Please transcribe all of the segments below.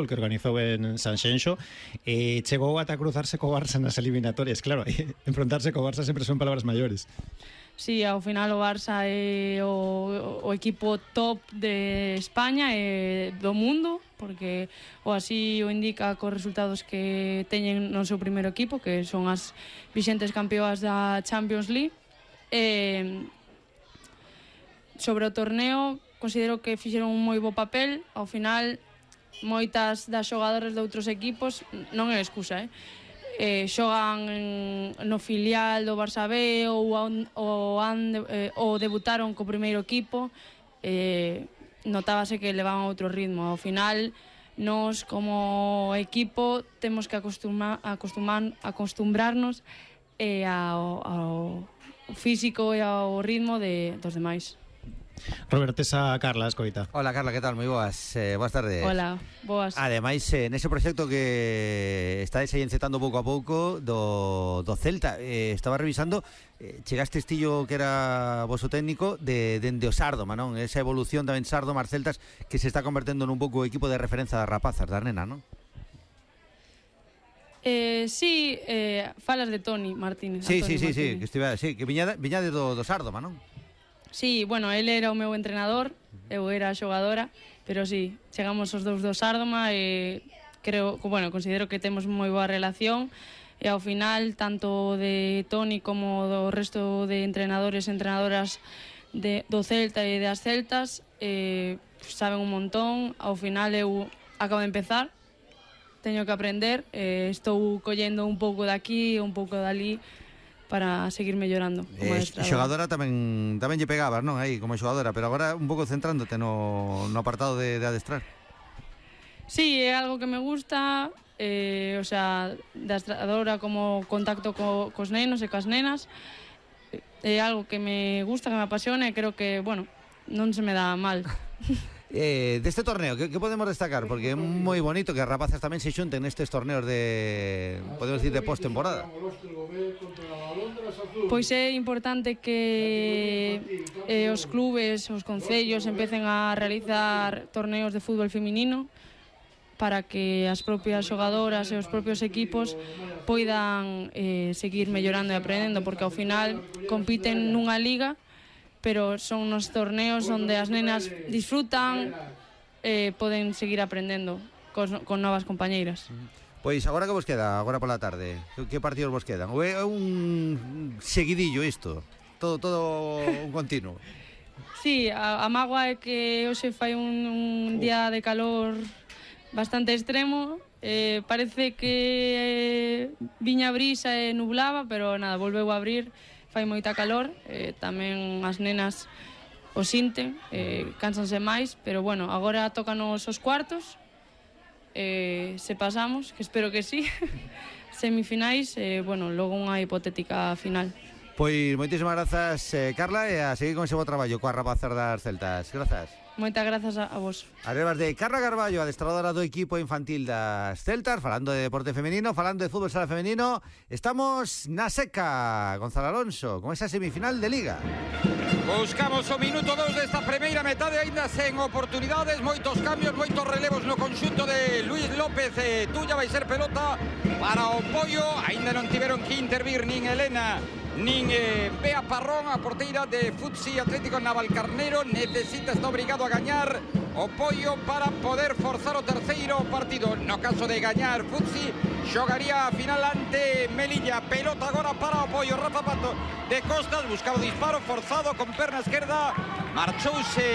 que organizou en Sanxenxo, chegou ata cruzarse co Barça nas eliminatorias. Claro, enfrontarse co Barça sempre son palabras maiores. Sí, ao final o Barça é o equipo top de España e do mundo, porque o así o indica cos resultados que teñen no seu primeiro equipo, que son as vixentes campeoas da Champions League. Sobre o torneo, considero que fixeron un moi bo papel. Ao final, moitas das xogadoras de outros equipos, non é excusa, xogan no filial do Barça B ou debutaron co primeiro equipo, notábase que levaban outro ritmo. Ao final, nós como equipo temos que acostumbrarnos ao físico e ao ritmo dos demais. Roberto, esa Carla escoita. Hola Carla, que tal? Moi boas, boas tardes. Hola, boas. Ademais, nese proxecto que estáis aí encetando pouco a pouco do Celta, estaba revisando, chegaste estillo que era voso técnico dende o Sárdoma, non? Esa evolución tamén Sárdoma, Celtas, que se está convertendo nun pouco o equipo de referencia das rapazas, das nenas, non? Sí, falas de Toni Martínez. Sí, que viñade do Sárdoma, non? Sí, bueno, él era o meu entrenador, eu era a xogadora, pero sí, chegamos os dous do Sárdoma e considero que temos moi boa relación e ao final, tanto de Toni como do resto de entrenadores e entrenadoras do Celta e das Celtas, saben un montón. Ao final eu acabo de empezar, teño que aprender, estou collendo un pouco de aquí, un pouco de ali, para seguir mellorando como adestradora. Xogadora tamén lle pegabas, non? Aí como xogadora, pero agora un pouco centrándote no apartado de adestrar. Sí, é algo que me gusta, o sea, de adestradora como contacto cos nenos e coas nenas. É algo que me gusta, que me apasiona e creo que, bueno, non se me dá mal. Deste torneo, que podemos destacar? Porque é moi bonito que as rapazas tamén se xunten nestes torneos de, podemos decir, de post-temporada. Pois é importante que os clubes, os concellos empecen a realizar torneos de fútbol feminino para que as propias xogadoras e os propios equipos poidan seguir mellorando e aprendendo, porque ao final compiten nunha liga, pero son nos torneos onde as nenas disfrutan, poden seguir aprendendo con novas compañeiras. Pois agora que vos queda, agora pola tarde, que partidos vos quedan? Ou é un seguidillo isto? Todo un continuo? Sí, a mágoa é que hoxe fai un día de calor bastante extremo, parece que viña brisa e nublaba, pero nada, volveu a abrir. Fai moita calor, tamén as nenas o sinten, cánsanse máis, pero bueno, agora tócanos os cuartos, se pasamos, que espero que sí, semifinais, bueno, logo unha hipotética final. Pois moitísimas grazas, Carla, e a seguir con ese bo traballo coas rapazas das Celtas. Grazas. Moitas grazas a vos. As verbas de Carla Carballo, adestradora do equipo infantil das Celtas, falando de deporte femenino, falando de fútbol sala femenino. Estamos na seca, Gonzalo Alonso, con esa semifinal de Liga. Buscamos o minuto 2 desta primeira metade, aínda sen oportunidades, moitos cambios, moitos relevos no conxunto de Luis López. Tuya vai ser pelota para o Pollo, aínda non tiveron que intervir nin Elena nin Bea Parrón, a porteira de Futsi Atlético Navalcarnero. Necesita, está obrigado a gañar o Pollo para poder forzar o terceiro partido. No caso de gañar Futsi, xogaría a final ante Melilla. Pelota agora para o Pollo. Rafa Pato de costas, buscaba o disparo forzado con perna esquerda, marchouse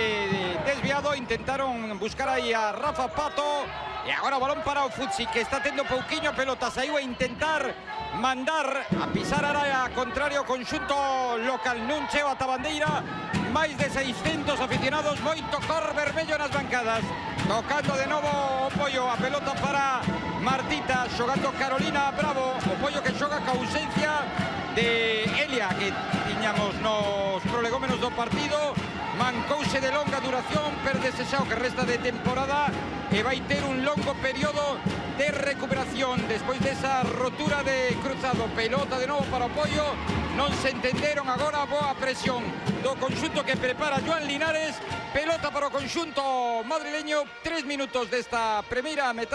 desviado, intentaron buscar aí a Rafa Pato e agora o balón para o Futsi, que está tendo pouquiño pelota, saiu a intentar mandar a pisar a área contrario conxunto local. Non cheo ata bandeira, máis de 600 aficionados, moito cor vermello nas bancadas. Tocando de novo o Pollo, a pelota para Martita, xogando Carolina Bravo, o Pollo que xoga ca ausencia de Elia, que tiñamos nos prolegómenos do partido. Mancouse de longa duración, perdese xa o que resta de temporada e vai ter un longo período de recuperación despois desa rotura de cruzado. Pelota de novo para o Pollo, non se entenderon agora, boa presión do conxunto que prepara Joan Linares. Pelota para o conxunto madrileño, 3 minutos desta primeira metade.